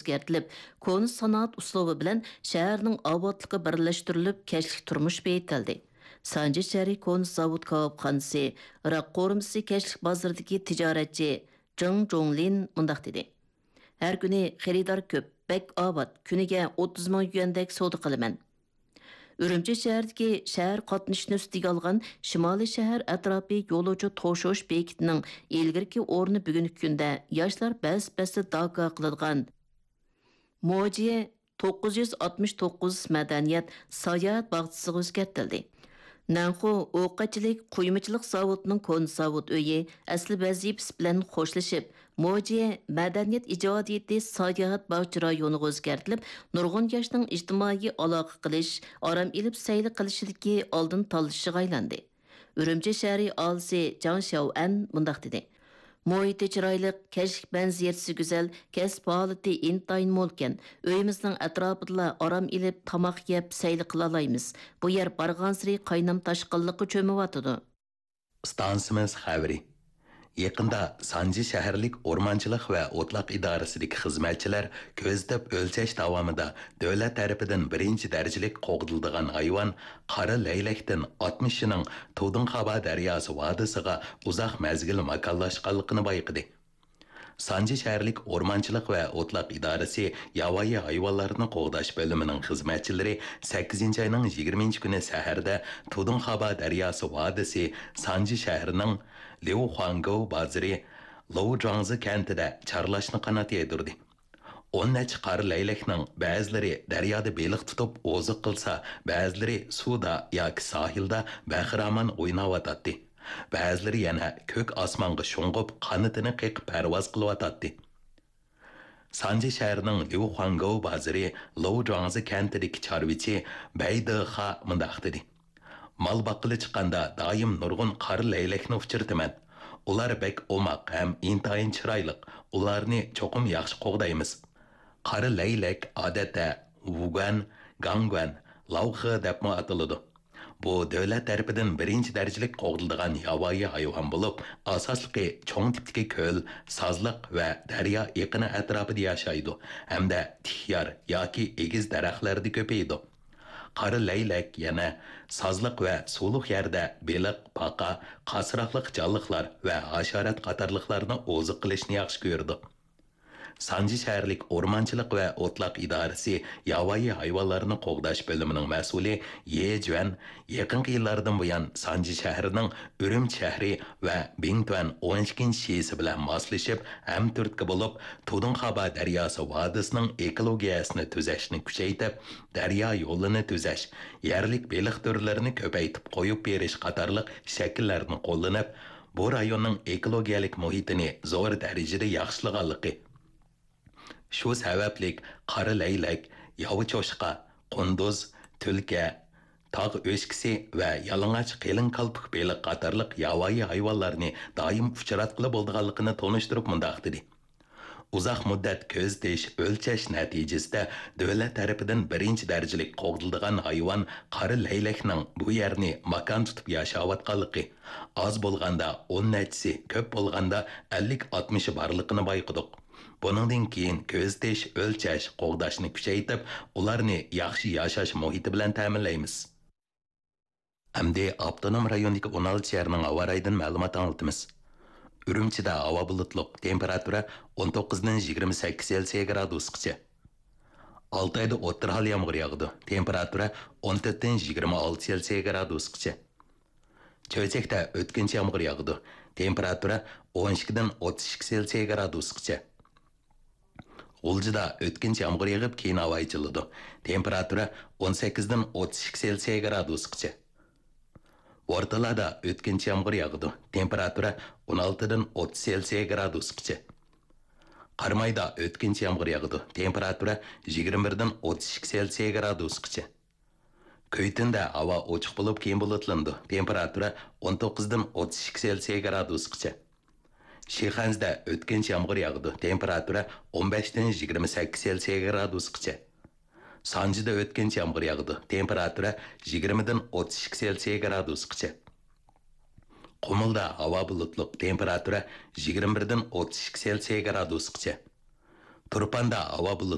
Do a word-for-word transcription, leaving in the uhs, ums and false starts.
ئۆزگەرتىلىپ، كونا سانائەت ئۇسلۇبى بىلەن شەھەرنىڭ ئاۋاتلىقى بىرلەشتۈرۈلۈپ، كەچلىك تۇرمۇش بېيىتىلدى. سانجى شەھىرى كونا زاۋۇت كاۋاپخانىسى، راك قورۇمىسى كەچلىك بازىرىدىكى تىجارەتچى جېڭ جوڭلىن مۇنداق دېدى: «ھەر كۈنى خېرىدار كۆپ، بەك ئاۋات، كۈنىگە ئوتتۇز مىڭ يۈەندەك سودا قىلىمەن.» ئۈرۈمچى شەھىرىدىكى شەھەر قاتنىشىنى ئۈستىگە ئالغان شىمالىي شەھەر ئەتراپى يولۇچى توشۇش بېكىتىنىڭ ئىلگىرىكى ئورنى بۈگۈنكى كۈندە ياشلار بەس-بەستە داكا قىلىدىغان موجى توققۇز يۈز ئاتمىش توققۇز مەدەنىيەت ساياھەت باغچىسىغا ئۆزگەرتىلدى. نەنخۇ ئوقەتچىلىك قۇيمىچىلىق زاۋۇتىنىڭ كونا زاۋۇت ئۆيى ئەسلى ۋەزىپىسى بىلەن خوشلىشىپ، موجى مەدەنىيەت ئىجادىيىتى ساياھەت باغچە رايونىغا ئۆزگەرتىلىپ، نۇرغۇن ياشنىڭ ئىجتىمائىي ئالاقە قىلىش، ئارام ئېلىپ سەيلە قىلىشىدىكى ئالدىن تاللىشىغا ئايلاندى. ئۈرۈمچى شەھىرى ئالىسى جاڭ شياۋئەن مۇنداق دېدى: «مۇھىتى چىرايلىق، كەچلىك مەنزىرىسى گۈزەل، كەسىپ ھالىتى ئىنتايىن مولكەن. ئۆيىمىزنىڭ ئەتراپىدىلا ئارام ئېلىپ، تاماق يەپ، سەيلە قىلالايمىز. بۇ يەر بارغانسېرى قاينام تاشقىنلىققا چۆمۈۋاتىدۇ.» ئىستانسىمىز خەۋىرى. يېقىندا سانجى شەھەرلىك ئورمانچىلىق ۋە ئوتلاق ئىدارىسىدىكى خىزمەتچىلەر كۆزىتىپ ئۆلچەش داۋامىدا دۆلەت تەرىپىدىن بىرىنچى دەرىجىلىك قوغدىلىدىغان ھايۋان قارا لەيلەكتىن ئاتمىشىنىڭ تۇدۇڭخابا دەرياسى ۋادىسىغا ئۇزاق مەزگىل ماكانلاشقانلىقىنى بايقىدى. سانجى شەھەرلىك ئورمانچىلىق ۋە ئوتلاق ئىدارىسى ياۋايى ھايۋانلارنى قوغداش بۆلۈمىنىڭ خىزمەتچىلىرى سەككىزىنچى ئاينىڭ يىگىرمىنچى كۈنى سەھەردە تۇدۇڭخابا دەرياسى ۋادىسى سانجى شەھىرىنىڭ ليۇخۇاڭگوۋ بازىرى لوۋجۇاڭزى كەنتىدە چارلاشنى قانات يايدۇردى. ئون نەچچە قارا لەيلەكنىڭ بەزىلىرى دەريادا بېلىق تۇتۇپ ئوزۇق قىلسا، بەزىلىرى سۇدا ياكى ساھىلدا بەخىرامان ئويناۋاتاتتى. بەزىلىرى يەنە كۆك ئاسمانغا شۇڭغۇپ، قانىتىنى قېقىپ پەرۋاز قىلىۋاتاتتى. سانجى شەھىرىنىڭ ليۇخۇاڭگوۋ بازىرى لوۋجۇاڭزى كەنتىدىكى چارۋىچى بەي دېخا مۇنداق دېدى: «مال باققىلى چىققاندا دائىم نۇرغۇن قارا لەيلەكنى ئۇچرىتىمەن. ئۇلار بەك ئوماق ھەم ئىنتايىن چىرايلىق. ئۇلارنى چوقۇم ياخشى قوغدايمىز.» قارا لەيلەك ئادەتتە ۋۇگۇەن، گاڭگۇەن، لاۋخې دەپمۇ ئاتىلىدۇ. بۇ دۆلەت تەرىپىدىن بىرىنچى دەرىجىلىك قوغدىلىدىغان ياۋايى ھايۋان بولۇپ، ئاساسلىقى چوڭ تىپتىكى كۆل، سازلىق ۋە دەريا ئېقىنى ئەتراپىدا ياشايدۇ ھەمدە تىك يار ياكى ئېگىز دەرەخلەردە كۆپىيىدۇ. قارا لەيلەك يەنە سازلىق ۋە سۇلۇق يەردە بېلىق، پاقا، قاسراقلىق جانلىقلار ۋە ھاشارات قاتارلىقلارنى ئوزۇق قىلىشنى ياخشى كۆرىدۇ. سانجى شەھەرلىك ئورمانچىلىق ۋە ئوتلاق ئىدارىسى ياۋايى ھايۋانلارنى قوغداش بۆلۈمىنىڭ مەسئۇلى يې جۈەن يېقىنقى يىللاردىن بۇيان سانجى شەھىرىنىڭ ئۈرۈمچى شەھىرى ۋە بىڭتۈەن ئون ئىككىنچى شىسى بىلەن ماسلىشىپ، ھەمتۈرتكە بولۇپ، تۇدۇڭخابا دەرياسى ۋادىسىنىڭ ئېكولوگىيەسىنى تۈزەشنى كۈچەيتىپ، دەريا يولىنى تۈزەش، يەرلىك بېلىق تۈرلىرىنى كۆپەيتىپ قويۇپ بېرىش قاتارلىق شەكىللەرنى قوللىنىپ، بۇ رايوننىڭ ئېكولوگىيەلىك مۇھىتىنى زور دەرىجىدە ياخشىلىغانلىقى، شۇ سەۋەبلىك قارا لەيلەك، ياۋا چوشقا، قۇندۇز، تۈلكە، تاغ ئۆچكىسى ۋە يالىڭاچ قېلىن كالپۇك بېلىق قاتارلىق ياۋايى ھايۋانلارنى دائىم ئۇچراتقىلى بولىدىغانلىقىنى تونۇشتۇرۇپ مۇنداق دېدى: «ئۇزاق مۇددەت كۆزىتىش، ئۆلچەش نەتىجىسىدە دۆلەت تەرىپىدىن بىرىنچى دەرىجىلىك قوغدىلىدىغان ھايۋان قارا لەيلەكنىڭ بۇ يەرنى ماكان تۇتۇپ ياشاۋاتقانلىقى، ئاز بولغاندا ئون نەچچىسى، كۆپ بولغاندا ئەللىك ئاتمىشى بارلىقىنى بايقىدۇق. بۇنىڭدىن كېيىن كۆزىتىش، ئۆلچەش، قوغداشنى كۈچەيتىپ، ئۇلارنى ياخشى ياشاش مۇھىتى بىلەن تەمىنلەيمىز.» ئەمدى ئاپتونوم رايوندىكى ئون ئالتە شەھەرنىڭ ھاۋا رايىدىن مەلۇمات ئاڭلىتىمىز. ئۈرۈمچىدە ھاۋا بۇلۇتلۇق، تېمپېراتۇرا ئون توققۇزدىن يىگىرمە سەككىز سېلسىيە گرادۇسقىچە. ئالتايدا ئوتتۇرا ھال يامغۇر ياغىدۇ، تېمپېراتۇرا ئون تۆتتىن يىگىرمە ئالتە سېلسىيە گرادۇسقىچە. چۆچەكتە ئۆتكۈنچى يامغۇر ياغىدۇ، تېمپېراتۇرا ئون ئىككىدىن ئوتتۇز ئىككى سېلسىيە گرادۇسقىچە. غۇلجىدا ئۆتكۈنچى يامغۇر يېغىپ، كېيىن ھاۋا ئېچىلىدۇ، تېمپېراتۇرا ئون سەككىزدىن ئوتتۇز ئىككى سېلسىيە گرادۇسقىچە. بورتالادا ئۆتكۈنچى يامغۇر ياغىدۇ، تېمپېراتۇرا ئون ئالتىدىن ئوتتۇز سېلسىيە گرادۇسقىچە. قارامايدا ئۆتكۈنچى يامغۇر ياغىدۇ، تېمپېراتۇرا يىگىرمە بىردىن ئوتتۇز ئىككى سېلسىيە گرادۇسقىچە. كۈيتۈندە ھاۋا ئوچۇق بولۇپ، كېيىن بۇلۇتلىنىدۇ، تېمپېراتۇرا ئون توققۇزدىن ئوتتۇز ئىككى سېلسىيە گرادۇسقىچە. شىخەنزىدە ئۆتكۈنچى يامغۇر ياغىدۇ، تېمپېراتۇرا ئون بەشتىن يىگىرمە سەككىز سېلسىيە گرادۇسقىچە. سانجىدا ئۆتكۈنچى يامغۇر ياغىدۇ، تېمپېراتۇرا يىگىرمىدىن ئوتتۇز ئىككى سېلسىيە گرادۇسقىچە. قۇمۇلدا ھاۋا بۇلۇتلۇق، تېمپېراتۇرا يىگىرمە بىردىن ئوتتۇز ئىككى سېلسىيە گرادۇسقىچە. تۇرپاندا ھاۋا بۇلۇتلۇق،